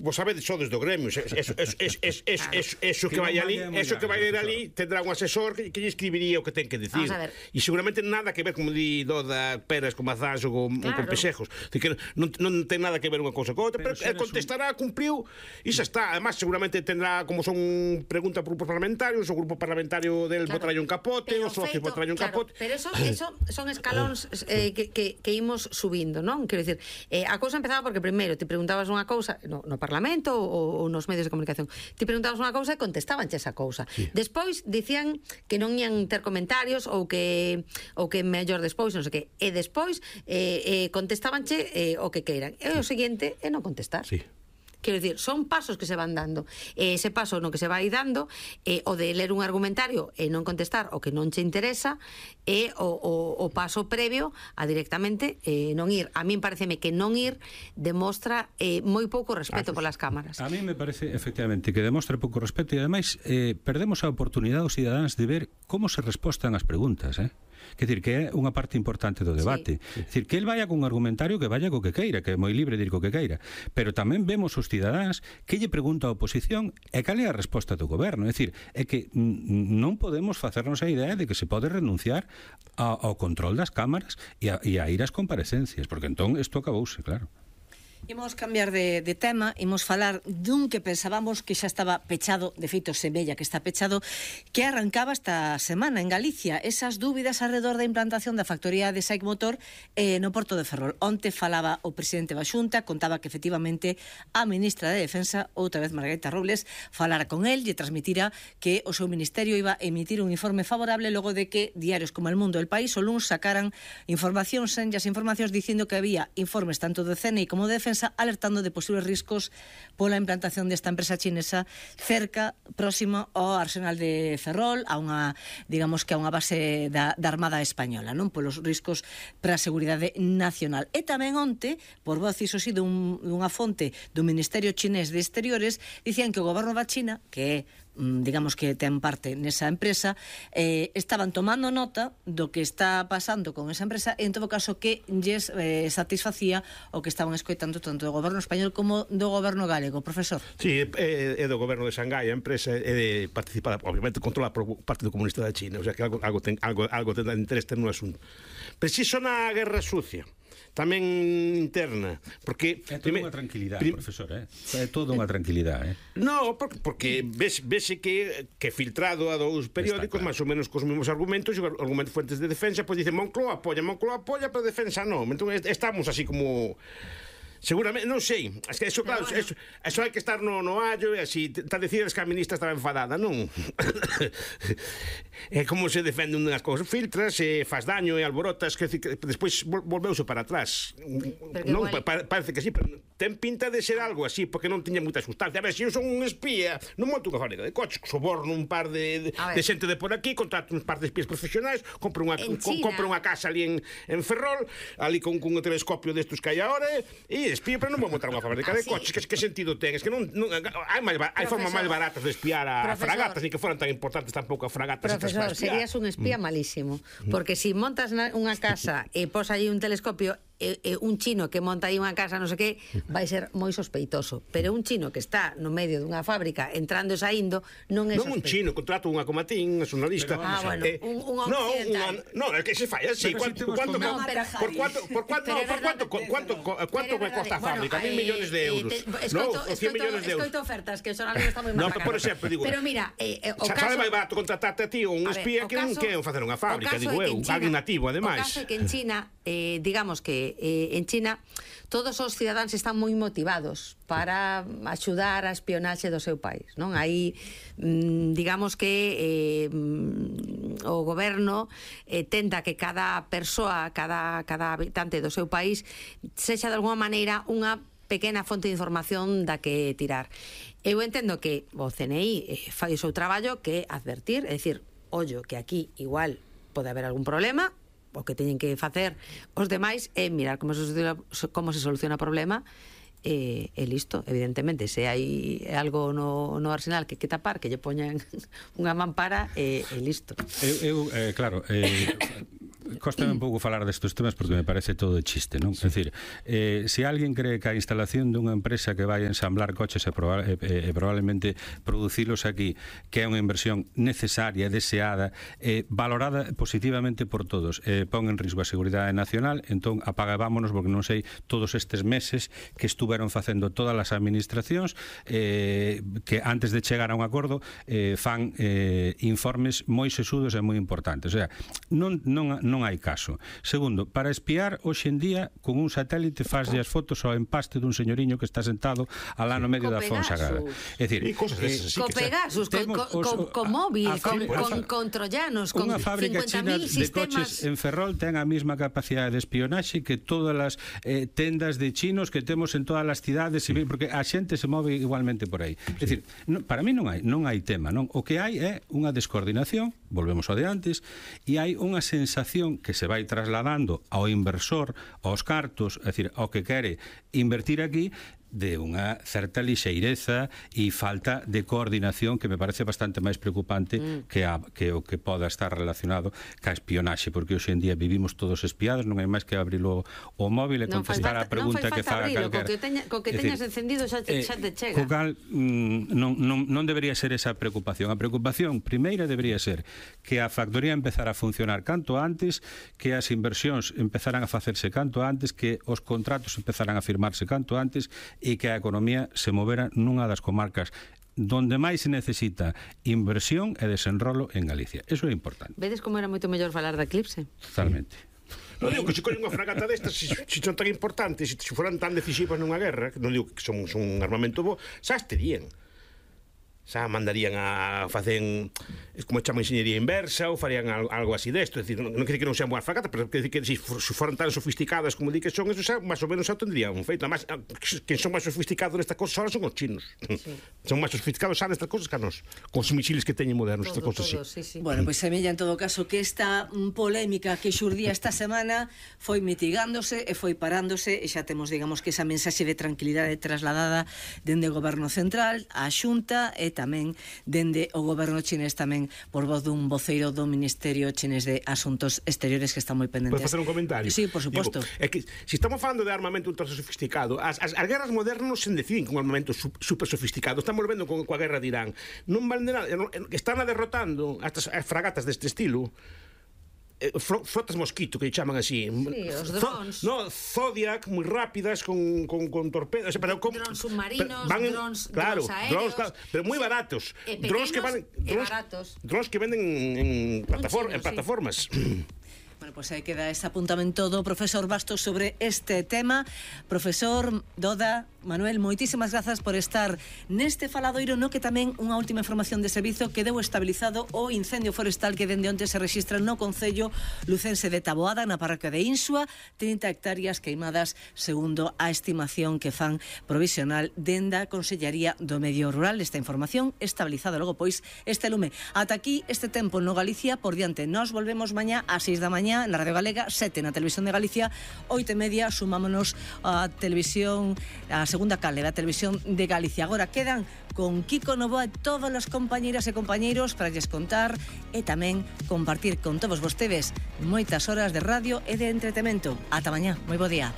vos sabedes só desde o gremio, eso que vai ali tendrá un asesor que lle escribiría o que ten que dicir. E seguramente nada que ver, como di Doda, peras con mazás ou con pexejos. Non ten nada que ver unha cousa con outra, pero contestará, cumpriu e xa está. Además, seguramente tendrá, como son preguntas por grupos parlamentarios, o grupo parlamentario del botarlle un capote, o socio botarlle un capote. Pero eso son escalóns que imos subindo, non? Quero dicir, a cousa empezaba porque primeiro te preguntabas unha cousa no Parlamento ou nos medios de comunicación, te preguntabas unha cousa e contestabanche esa cousa. Despois dicían que non ian ter comentarios ou que mellor despois, non sei que, e despois contestabanche o que queiran. E o seguinte é non contestar. Quero dicir, son pasos que se van dando. Ese paso no que se vai dando o de ler un argumentario e non contestar o que non che interesa é o paso previo a directamente non ir. A min pareceme que non ir demostra moi pouco respeto polas cámaras. A mí me parece, efectivamente, que demostra pouco respeto e ademais perdemos a oportunidade aos cidadáns de ver como se respostan as preguntas, Quer dizer, que é unha parte importante do debate. Quer dizer, que el vaya con un argumentario que vaya co que queira, que é moi libre de ir co que queira. Pero tamén vemos os cidadáns que lle pregunta a oposición e cal é a resposta do goberno. É dicir, é que non podemos facernos a idea de que se pode renunciar ao control das cámaras e a ir ás comparecencias, porque entón isto acabouse, claro. Imos cambiar de tema, imos falar dun que pensábamos que xa estaba pechado, de feito semella que está pechado, que arrancaba esta semana en Galicia, esas dúbidas alrededor da implantación da factoría de SAIC Motor no Porto de Ferrol. Onte falaba o presidente da Xunta, contaba que efectivamente a ministra de Defensa, outra vez Margarita Robles, falara con el e transmitira que o seu ministerio iba a emitir un informe favorable logo de que diarios como El Mundo e El País o luns sacaran informacións en as informacións dicindo que había informes tanto de CNI como de Defensa alertando de posibles riscos pola implantación desta empresa chinesa cerca, próximo ao Arsenal de Ferrol, a unha, digamos que a unha base da Armada Española, non? Polos riscos para a seguridade nacional. E tamén onte, por voz iso sí dunha fonte do Ministerio Chinés de Exteriores, dicían que o goberno da China, que é digamos que ten parte nesa empresa, estaban tomando nota do que está pasando con esa empresa e en todo caso que lles satisfacía o que estaban escoitando tanto do goberno español como do goberno galego. Profesor. Sí, é do goberno de Xangai, a empresa é participada, obviamente controlada por parte do comunista da China, o sea que algo ten de interés no asunto. Preciso na guerra sucia, tamén interna, porque é toda unha tranquilidade, profesor, é toda unha tranquilidade. No, porque vese que filtrado a dous periódicos máis ou menos cos mesmos argumentos, e argumentos fuentes de defensa, pois dicen Moncloa apoia, pero defensa non. Entón estamos así como seguramente, non sei, es que eso, claro, eso hai que estar no allo e así, está a decir que a ministra estaba enfadada, non? É como se defende unhas cousas, filtras, faz daño e alborotas, que despois volveuse para atrás. Non, parece que sí, pero ten pinta de ser algo así, porque non tiña moita sustancia. A ver, se eu son un espía, non monto unha fábrica de coches, soborno un par de xente de por aquí, contrato un par de espías profesionais, compro unha casa ali en Ferrol, ali con un telescopio destos que hai agora, e espía, pero non vou montar unha fábrica de coches. Que sentido ten? Es que non hai formas máis baratas de espiar a fragatas, ni que foran tan importantes tampouco a fragatas. Profesor, serías un espía malísimo, porque si montas unha casa e pos allí un telescopio, un chino que monta aí unha casa non sei que, vai ser moi sospeitoso, pero un chino que está no medio dunha fábrica entrando e saindo non é sospeitoso. Non un chino, contrato unha comatín, unha xornalista. Bueno, un occidental. No, é que se fai así. Por cuánto cuesta a fábrica? 1.000 millones de euros. Escoito ofertas, que o xornalismo está moi mal pagado. Por exemplo, digo, pero mira, o caso... Sabe máis barato contratarte a ti ou un espía que non queren facer unha fábrica, digo eu, alguén nativo, ademais. O caso é que en China, digamos que en China todos os cidadáns están moi motivados para axudar a espionaxe do seu país, non? Aí digamos que o goberno tenta que cada persoa, cada habitante do seu país sexa de alguma maneira unha pequena fonte de información da que tirar. Eu entendo que o CNI fai o seu traballo, que é advertir, é dicir, ollo, que aquí igual pode haber algún problema, o que teñen que facer os demais é mirar como se soluciona o problema e listo. Evidentemente, se hai algo no Arsenal que tapar, que lle poñan unha mampara e listo. Claro, Cóstame un pouco falar destes temas porque me parece todo de chiste, non? É dicir, se alguén cree que a instalación dunha empresa que vai ensamblar coches e probablemente producilos aquí, que é unha inversión necesaria, deseada, valorada positivamente por todos, pon en risco a seguridade nacional, entón apaga e vámonos, porque non sei todos estes meses que estuveron facendo todas as administracións que antes de chegar a un acordo fan informes moi sesudos e moi importantes. O sea, non hai caso. Segundo, para espiar, hoxe en día, con un satélite faslle as fotos ao empaste dun señoriño que está sentado alá no medio da Fonsagrada. É dicir, co Pegasus, co móvil, con troyanos, con 50.000 sistemas. De coches en Ferrol ten a mesma capacidade de espionaxe que todas as tendas de chinos que temos en todas as cidades, porque a xente se move igualmente por aí. É dicir, para mí non hai tema, non? O que hai é unha descoordinación, volvemos ao de antes, e hai unha sensación que se vai trasladando ao inversor, aos cartos, é dicir, ao que quere invertir aquí, de unha certa lixeireza e falta de coordinación que me parece bastante máis preocupante que o que poda estar relacionado ca espionaxe, porque hoxe en día vivimos todos espiados, non hai máis que abrir o móvil e contestar a pregunta que faga calquera. Co que teñas encendido xa te chega. Co cal non debería ser esa preocupación. A preocupación primeira debería ser que a factoría empezara a funcionar canto antes, que as inversións empezaran a facerse canto antes, que os contratos empezaran a firmarse canto antes e que a economía se movera nunha das comarcas donde máis se necesita inversión e desenrolo en Galicia. Eso é importante. Vedes como era moito mellor falar da Eclipse? Totalmente. Non digo que se colle unha fragata destas, se son tan importantes, se foran tan decisivas nunha guerra, non digo que son un armamento bo, xa estarían. Xa mandarían a facer como chama ingeniería inversa ou farían algo así desto, é dicir, non quer dicir que non sean boas fracatas, pero quer dicir que se foran tan sofisticadas como di que son, eso xa máis ou menos xa tendrían feito. Además, que son máis sofisticados nestas cosas ahora son os chinos. Sí. Son máis sofisticados xa nestas cosas que a nos, con os misiles que teñen modernos, estas cosas así. Sí. Bueno, pois semella en todo caso que esta polémica que xurdía esta semana foi mitigándose e foi parándose, e xa temos, digamos, que esa mensaxe de tranquilidade trasladada dende o goberno central á Xunta e tamén dende o goberno chinés tamén por voz dun voceiro do Ministerio chinés de Asuntos Exteriores que está moi pendentes. Podes facer un comentario? Sí, por suposto. É que se estamos falando de armamento ultra sofisticado, as guerras modernas non se deciden con armamento super sofisticado. Estamos vendo coa guerra de Irán. Non vale nada, están derrotando as fragatas deste estilo. Frotas mosquito, que chaman así. Sí, os drones. Zodiac, moi rápidas, con torpedos. Drones submarinos, drones aéreos. Pero moi baratos. Drones que van baratos. Drones que venden en plataformas. Bueno, pues aí queda ese apuntamento do profesor Bastos sobre este tema. Profesor Doda, Manuel, moitísimas grazas por estar neste faladoiro, no que tamén unha última información de servizo que deu estabilizado o incendio forestal que dende onte se rexistra no concello lucense de Taboada, na parroquia de Insua, 30 hectáreas queimadas segundo a estimación que fan provisional dende a Consellería do Medio Rural. Esta información estabilizada logo pois este lume. Ata aquí este tempo no Galicia por diante. Nos volvemos mañá a 6 da mañá na Radio Galega, 7 na Televisión de Galicia, 8:30 sumámonos a televisión, a segunda canle da Televisión de Galicia. Agora quedan con Kiko Novoa e todas as compañeiras e compañeiros para lles contar e tamén compartir con todos vostedes moitas horas de radio e de entretemento. Ata mañá, moi bo día.